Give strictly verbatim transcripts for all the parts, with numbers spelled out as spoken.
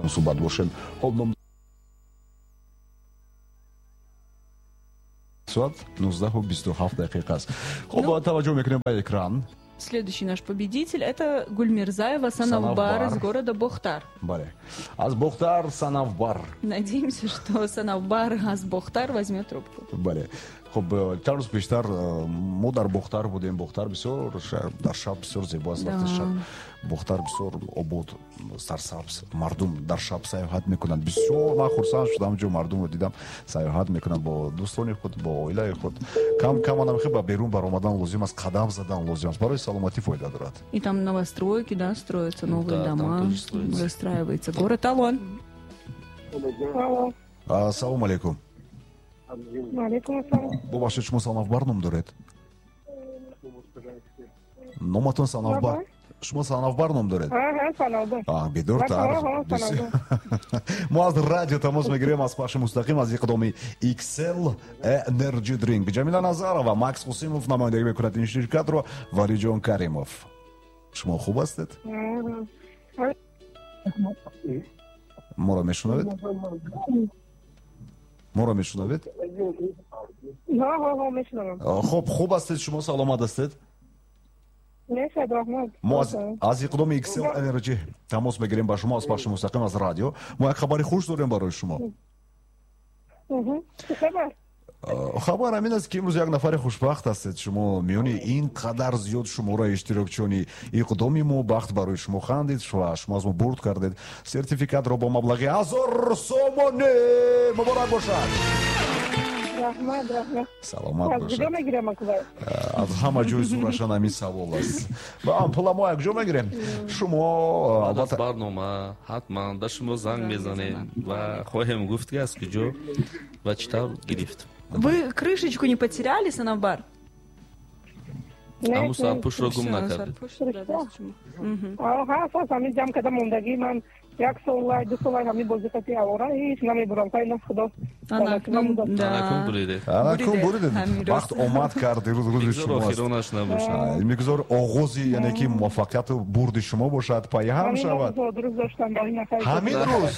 Суҳбат бошем. Хоб, ном соат нуздаҳу бисту ҳафт дақиқа аст. Хоб, таваҷҷӯҳ мекунем ба экран. Следующий наш победитель это Гульмирзаева Санавбар из города Бохтар. Бале. Аз Бохтар Санавбар. Надеемся, что Санавбар аз Бохтар возьмет трубку. Бале. Хоб, чанд рӯз пештар мо дар Бохтар будем. Бохтар бисёр дар шаб бисёр зебо аст. Вақти шаб Бохтар бисёр обод, сарсабз, мардум дар шаб сайёҳат мекунанд. Бисёр ман хурсанд шудам, ҷо мардумро дидам сайёҳат мекунанд бо дӯстони худ, бо оилаи худ. Кам кам анам хе ба берун баромадан лозим аст, қадам задан лозим аст, барои саломатӣ фоида дорад. И там новостройки, да, строятся новые дома, застраивается город. Алло. Ассалому алейкум. Алейкум ассалом. Бубахшед, шумо Санавбар ном доред? Номатон Санавбар. Шумо Санавбар ном доред? Аҳа, бедортар. Мо аз радио тамос мегирем, аз пахши мустақим аз иқдоми икс эл Energy Drink. Ҷамила Назарова, Макс Қосимов намояндагӣ мекунад ин ширкатро, Валиҷон Каримов. Шумо хуб ҳастед? Моро мешунавед? Моро мешунавед? Хуб, хуб ҳастед шумо, саломат ҳастед? Мо аз иқдоми икс эл Energy тамос мегирем ба шумо аз пахши мустақим аз радио. Мо як хабари хуш дорем барои шумо. Хабар ҳамин аст, ки имрӯз як нафари хушбахт ҳастед шумо. Миёни ин қадар зиёд шумораи иштирокчиёни иқдоми мо бахт барои шумо хандид ва шумо аз мо бурд кардед. Сертификатро бо маблағи ҳазор сомонӣ. Муборак бошад. Раҳмат, раҳмат. Саломат бошед. Аз куҷо мегирем акбар? Аз ҳама ҷой зӯрашан ҳамин савол аст. Ва пула мо якҷо мегирем. Шумо албатта барнома ҳатман ба шумо занг мезанем ва хоҳем гуфт, ки аз куҷо ва чӣ тавр гирифт. Вы крышечку не потеряли, Санавбар? Аму сарпӯшро гум накардед. Ҳа, ҳамин ҷамъ карда мондагӣ ман як сол, ду сол ҳамин бозиқати авора ҳеҷ намебурам. Хайна худо. Анакун буридед. Анакун буридед. Вақт омад кард, рӯз рӯзи шумо аст. Охиронаш набошад. Мегузор оғози, яъне ки муваффақияту бурди шумо бошад, пайҳам шавад. Ҳамин рӯз.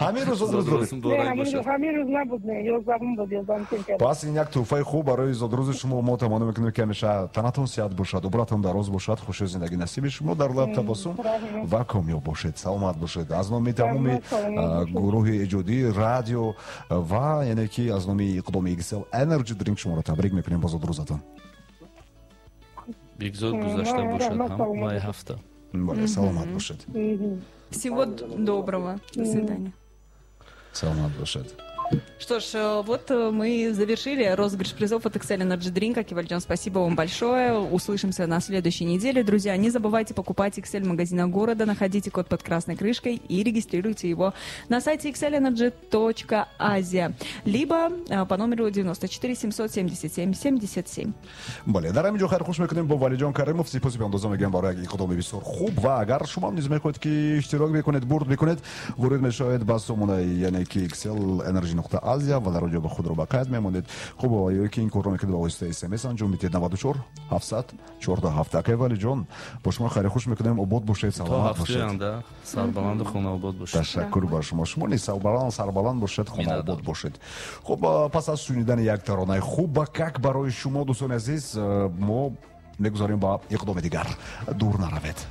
Ҳамин рӯз зодрӯз доред. Ҳамин рӯз набуд, не, ёздаҳум буд, ёздаҳум сентябр. Пас ин як тӯҳфаи хуб барои зодрӯзи шумо. Мо таманно мекунем, ки ҳамеша танатон сиҳат бошад, умратон дароз бошад, хуши зиндагӣ насиби шумо, дар лаб табассум ва комёб бошед, саломат бошед. Аз номи тамоми гурӯҳи эҷодии радио ва яъне ки аз номи иқдоми икс эл Energy Drink шуморо табрик мекунем бо зодрӯзатон. Бигзор гузашта бошад ҳам май ҳафта. Бале, саломат бошед. Всего доброго. До свидания. Саломат бошед. Что ж, вот мы завершили розыгрыш призов от икс эл Energy Drink. Акивалиджон, спасибо вам большое. Услышимся на следующей неделе. Друзья, не забывайте покупать икс эл в магазинах города, находите код под красной крышкой и регистрируйте его на сайте икс эл энерджи точка азия, либо по номеру девяносто четыре семьсот семьдесят семь семьдесят семь. Бале, дар ҳамин ҷо хайрхуш мекунем бо Валиҷон Каримов. Сипоси беандоза мегӯям барои як иқдоми бисёр хуб ва агар шумо низ мехоҳед, ки иштирок мекунед, бурд мекунед, ворид мешавед ба сомонаи яъне ки икс эл Energy нуқта Азия ва дар он ҷо ба худро ба қайд мемонед. Хуб, ё ки ин корро мекунед ба воситаи эс эм эс анҷом медиҳед наваду чор ҳафтсад чордаҳ ҳафт. Акай Валиҷон, бо шумо хайри хуш мекунем. Обод бошед, саломат бошед. Сарбаланду хонаобод бошед. Ташаккур ба шумо. Шумо низ сарбаланд, сарбаланд бошед, хонаобод бошед. Хуб, пас аз шунидани як таронаи хуб ба как барои шумо, дӯстони азиз, мо мегузарем ба иқдоми дигар. Дур наравед.